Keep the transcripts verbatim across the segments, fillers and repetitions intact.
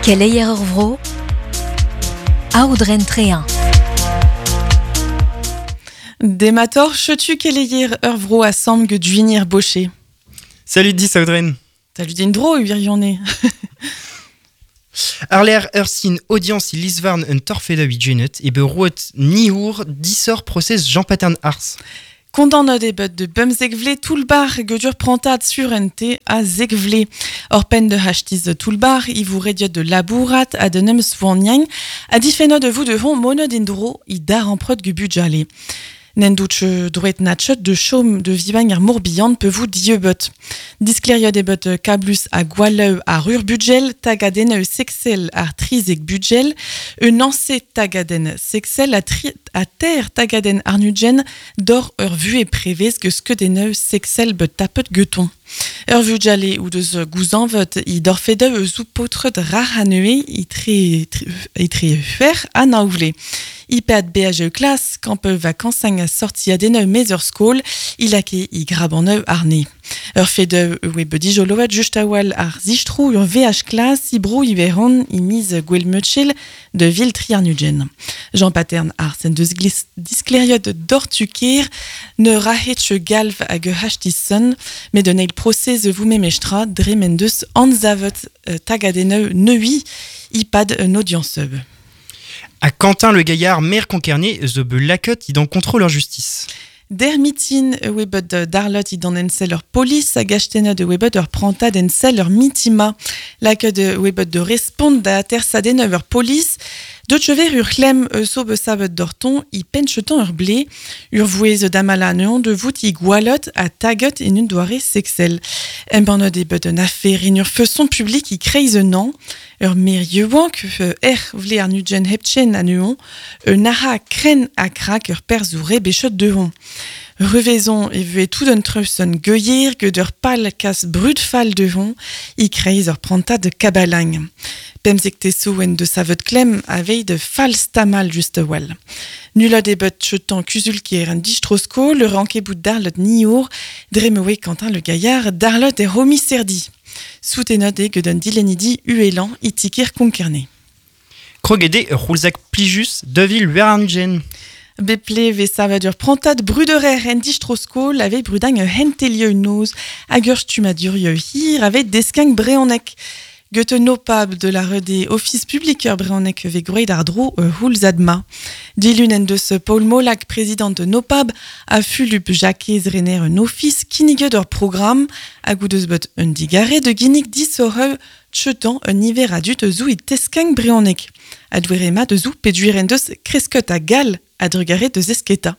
Keleier ur vro, Aodren Trehin. Demator, chetu keleier ur vro a samg duinir boché. Salut dis Aodren. Salut dindro, uirionne. Ar ur sin audience i lisvarn un torfeda ui genet e be roet niour disor procès Jean Patern Ars. Condamne de bet de bemzekvle toulbar gedur prantad surente a zekvle. Or pen de hachtiz toulbar, i vous rediot de labourat a de nem soignang, a difenot de vous de hon monod indro i dar empreut gu budjale. Nen douch droet natchet de chaume de vivang ar morbihan pe vous dieubet. Diskleriot ebet kablus a gwaleu ar ur budgel, tagaden eu sexel ar trizek budgel, un anse tagaden sexel a, tri, a ter tagaden arnudgen dor ur vu e prevez ge skeden eu sexel bet tapet geton. Ur vujale ou deus gouzanvet i dorfedeu eus ou potret rahanue i tre, tre, i tre fer a naouvle. I pad B H E klas, kamp vakansang a sorti a deneu mezur skol, i lake i grabaneu arne. Ur fedeu oe be dijoloet just a-wal ar zistrou ur V H klas i bro i veron i miz gwel meutchel de vil triarnugen. Jean Patern ar sen deus glis diskleriot dortuker ne rahetche galv hag hachtisson, met un eil procès vous memestra dremen deus anzavet tagadeneu neui i pad un audience. A Quentin Le Gaillard, maire concerné, zo be lakot i dan contrôleur justice. Der mitin webet darlot i dan ensel ur polis hag achtena de webet ur prantad ensel ur mitima. Lakot de webet de respond da tersaden ur polis. De chever ur chlem so be sabet dorton i penchetan ur blé, ur vouez damala neon de vout i gwalot a taget en un doare sexel. Embanod e bet un affaire in ur feson public i kreiz un an, ur merieuank er vle ar nudgen hepchen a neon, un aha kren a krak ur perzoure bechot de hon. Revezon e vue tout d'un treuson gueuillir que d'ur pal kas brut fal de hon, i kreiz ur prantad de kabalang. Pemzek teso en de savet klem avei de fals tamal just wal. Nula debet chetan kuzulkier un distrosko, le ranke bout darlot niour, dremewe Quentin le Gaillard, darlot e romi serdi. Soutenot e gedun dilenidi uelan itikir konkerne. Krogede roulzak plijus devil werarnugen. Beple ve savadur prantad bruderer en distrosko ave brudang hentelieu noz hag ur stumadurieu hir ave deskang breonek. Goethe nopab de la rede Office public ur breonek ve groet ar dro houlzadma. Dilun en deus Paul Molac, président de Nopab, a Fulup Jacques Renner un office kinniget ur programme hag ou deus bet un digare de ginnig disoreu chetan un hiver adut zou i teskang breonek. A douerema de zou peduir en deus kresket a gal a drugare de zesketa.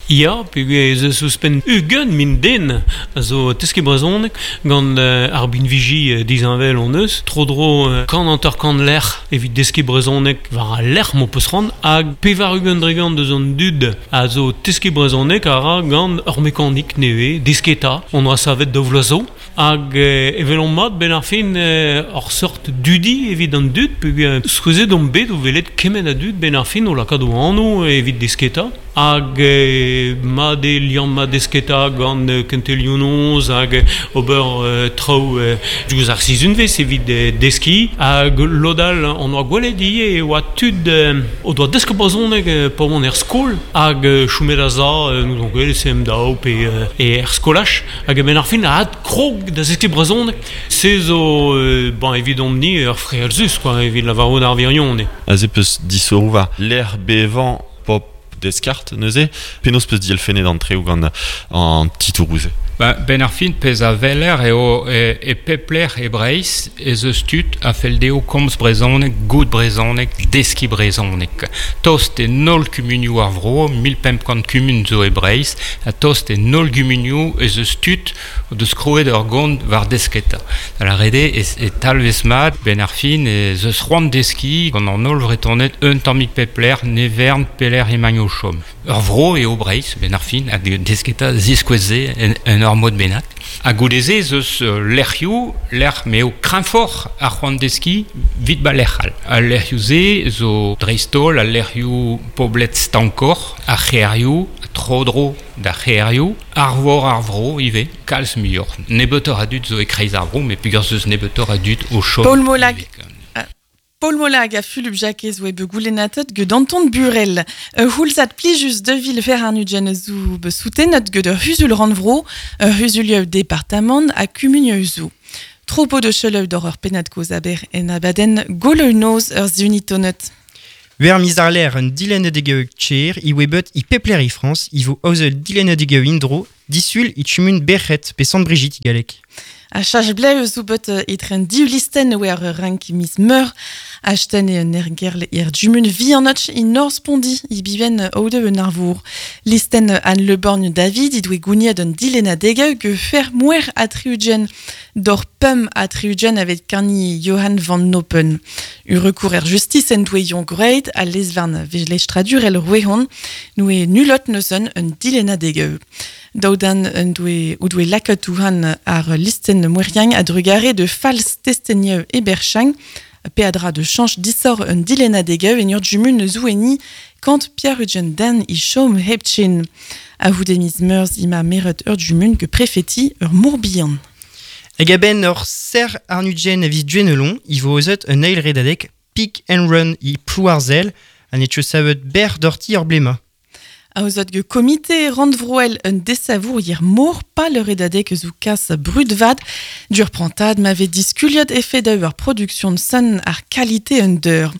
Ya, peogwir ez eus ouzhpenn ugent min den a zo teske brezhoneg gant uh, ar binviji uh, dizanvel on eus. Tro-dro uh, kant hanter kant lec'h evit deske brezhoneg war al lec'h m'o peus ran hag pevar ugent dregant deus an dud a zo teske brezhoneg a ra gant ur mekanik nevez desketa. On oa savet da vloaz zo. Hag uh, evel on mat ben ar fin uh, ur sort dudi evit an dud peogwir skouezet on bet o velet kement a dud ben ar fin o lakaat o anv evit desketa. Hag eh, ma de liamm ma desketa gant kentelioù hag ober euh, traoù euh, diouzh ar sizhunvezh evit euh, deskiñ hag lodal on oa gwelet ivez e oa tud euh, o doa desket brezhoneg euh, pa oant er skol hag euh, choumet a za euh, nous on gwelet C M D A O pe euh, e er skolaj hag ben ar fin a ad krog da zeskiñ brezhoneg se zo euh, bon evidomp-ni ur frealzus quoi evit lavarout ar virion. Aze peus disorou war l'air bevan pop deskart neuze, penaos peus dielfennet an treoù gant an titouroù-se. Ba, ben ar fin pez a veler eo e, e pepler e Breizh ez eus tud a fell dezho komz brezhoneg, gout brezhoneg, deskiñ brezhoneg. Tost e nol kumunioù ar vro, mil pemp kant kumun zo e Breizh, ha tost e nol gumunioù ez eus tud o deus kroet ur gont war desketa. Da la rede e, e talvez mat, ben ar fin ez eus c'hoant deskiñ gant an holl vretoned un tammig pepler, nevern, peler emañ o chom. Ur vro eo Breizh, ben ar fin, hag desketa ziskouez-se en, en ur mod bennak. Ha goudeze ez eus lec'hioù, lec'h m'eo kreñvoc'h ar c'hoant deskiñ vit ba lec'h all. Al lec'hioù-se zo dreist-holl al lec'hioù poblet stankoc'h, ar c'hêrioù, tro-dro da c'herioù, ar vor ar vro ive, kalz muioc'h. Nebeutoc'h a dud zo e kreiz ar vro, met peogwir zeus nebeutoc'h a dud o chom. Paul Molag. Paul Molag a Fulup Jakez oe be goulennatet gant Anton Burel. Ur houlzad plijus de vil fer ar nugen zo be soutennet gant ur huzul rannvro, ur huzulioù departamant ha kumunioù zo. Tropo de cheleu d'or ur pennad koz aber en abadenn goleu noz ur zunitonet. Wer miz ar l'air un dilennadegeu tcher, i oe bet i pepler i Frans, i vo aozel dilennadegeu indro, disul i chumun berchet pe Sant Brigitte i galek. A chach bleu zo bet etren div listen oe ar rank miz meur, achten e un ergerl er jumun vianotch i Norspondi i biven oude un arvour. Listen an Le Borgne David i doe gouniad un dilennadegeu ge fer mouer a triugen d'or pum a triugen avec karni Johan van Noppen. U recours er justice en doe yon great a lesvarn vejlestradur el rouehon noe nulot neuzen un dilennadegeu. Daudan un doe, ou doe laket ouhan ar listen moueriang a drugare de fals testenieu e berchang, peadra de chanch disor un dilennadegeu en ur jumun zoueni kant Pierre Ugen den i chom hepchin. A voudemiz meurs ima meret ur jumun que prefeti ur mourbihan. Hag a-benn ur ser ar nugen a viz duenelon, i vo ozet un eil redadeg pick and run i plouarzel, an etche savet ber dorti ur blema. Aozot ge komite rannvroel un desavour hier mor pa le redadeg zo kas brudvad dur prantad m'ave diskuliot effet d'eur production de son ar qualité un deur.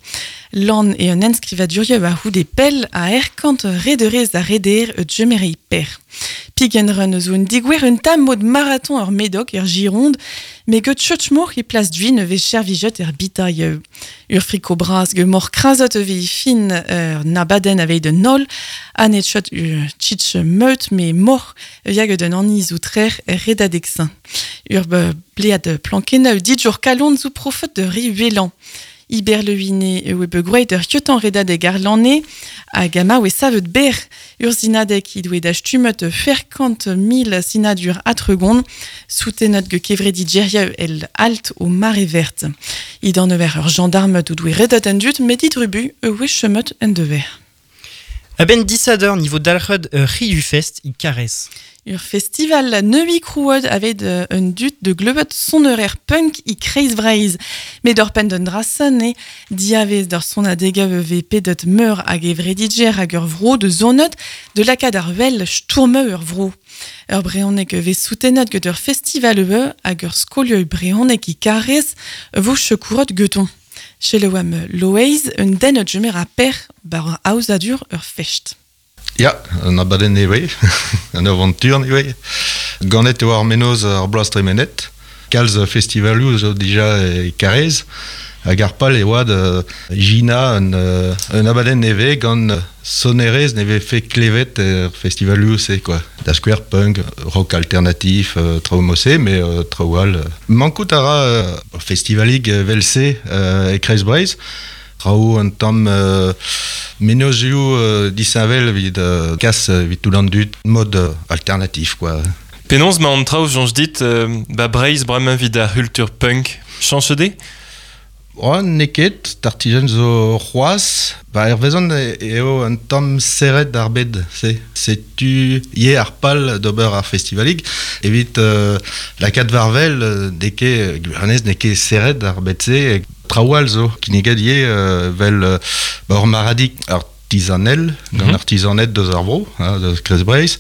Lan e un enskrivadurieu a houde pel a erkant rederez a reder e djemerei per. Pigen run zo un digouer un tam mod marathon ur Médoc er Gironde, me get chotchmour e plas duin ve chervijet er bitaille. Ur friko bras ge mor krazot ve fin ur nabaden aveit de nol, an et chot ur tchitch meut me mor yag den anni zo trer er redadexin. Ur blead plankeneu dit jour kalon zo profet de riuelan. Iber leuine e oe begroet ur kiotan redadeg ar lanne hag ama oe savet ber ur zinadeg i doe da stumet ferkant mil sinadur atregon soutenot ge kevredi djerieu el alt o mare verte. I dan eur ur gendarme ou doe redat en dut medit rubu e oe chemet en dever. A-benn disador niveau dalc'hed ur Riu Fest i Karez. Ur festival neui krouod aveit un dut de gleuvet sonerer punk i kreiz vreiz. Met d'ur pen d'un drasen e diavez d'ur son a degav ve pedet meur hag evredidjer hag ur vro de zonot de lakad ar wel stourme ur vro. Ur breonek ve soutenot get ur festival ue hag ur skolieu breonek i Karez vo chekourot geton. Chelewam Loeiz, un den jemer a per bar aozadur ur fest. Ya, un abadenn eo, un aventur eo. Ganet eo ar menoz ar bloaz tremenet. Kalz festivalioù zo dija e Karez. Hag ar pal e oad Gina un, un abadenn neve gant sonerez neve fe klevet er festivalioù se quoi. Da square punk, rock alternatif, euh, traoù mose, mais euh, traoù all. Mankout a ra euh, festivalig velse euh, e Kreiz Breizh. Traoù un tamm euh, menozioù euh, disheñvel evit euh, kas evit tout an dud, mod euh, alternatif quoi. Penaos ma an traoù soñj dit euh, ba Breizh bremañ evit ar c'hultur punk. Chañch de? Oh, n'eo ket, tartijen zo c'hoazh. Ba ervezan eo un tamm serret ar bed, se. Setu ye ar pal d'ober ar festivalig. Evit euh, lakaat varvel, n'eo ket, gwiranez n'eo ket serret ar bed se. Traoù all zo, kinniget ivez euh, vel euh, ba ur maradig artisanel, gant mm -hmm. artisaned deus ar vro, hein, deus Kreiz Breizh.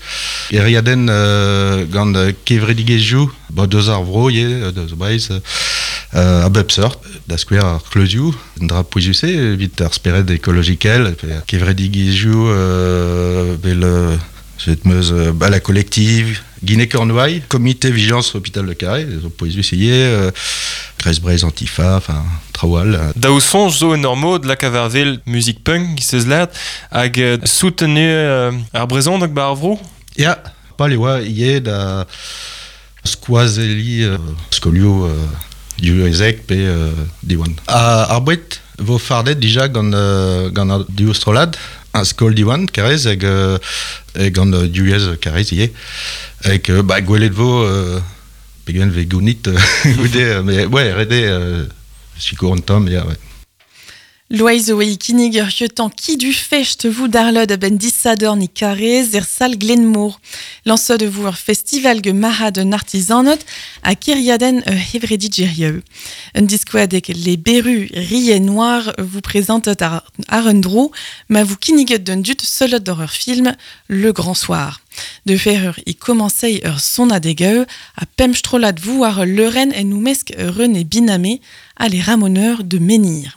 Eriadenn euh, gant kevredigezhioù, ba deus ar vro ivez, deus Breizh, euh, a bep seurt, da skouer ar kleuzioù, un dra pouezus-se, evit ar spered ekologikel, kevredigezhioù euh, vel euh, meus ba la collective, Guinée-Cornouailles, comité vigilance hôpital de Carré, zo pouezus ivez, euh, Kreiz Breizh Antifa, enfin, traoù all. Daou soñj zo en ur mod lakaat war wel muzik punk, seus lâret, hag euh, soutenu euh, ar brezhoneg ba ar vro? Ya, pal e oa ivez da skoazelli euh, skolioù euh, divyezhek pe euh, Diwan. A, ar boued vo fardet dija gant, euh, gant ar div strollad, un skol Diwan, Karez, hag euh, e gant euh, divyezh Karez ivez. Hag euh, ba, gwelet vo euh, pegen ve gounit goude, mais ouais, rede euh, sikour an tamm, ya, ouais. Loeiz oe kinnig ur hiotan ki du fecht vous darlod a ben disador ni karez er sal Glenmour. Lansod vous ur festival ge mahad un artisanot a kiriaden ur hevredi djerieu. Un diskoadek les berus riez noir vous présente ar, ar un dro, ma vous kinniget d'un dut selot d'horreur film Le Grand Soir. De fer ur i commencei ur son a degeu, a pemstrolat vous ar leuren en nou mesk René Binamé a les ramoneurs de Menhir.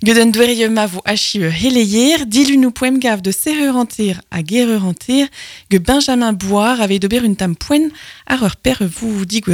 Geden dwerje ma vo achi ur heleyer, dilu nou poem gav de serreur anter a gereur anter, ge Benjamin Boire avait d'ober un tam poen ar ur per vous digouer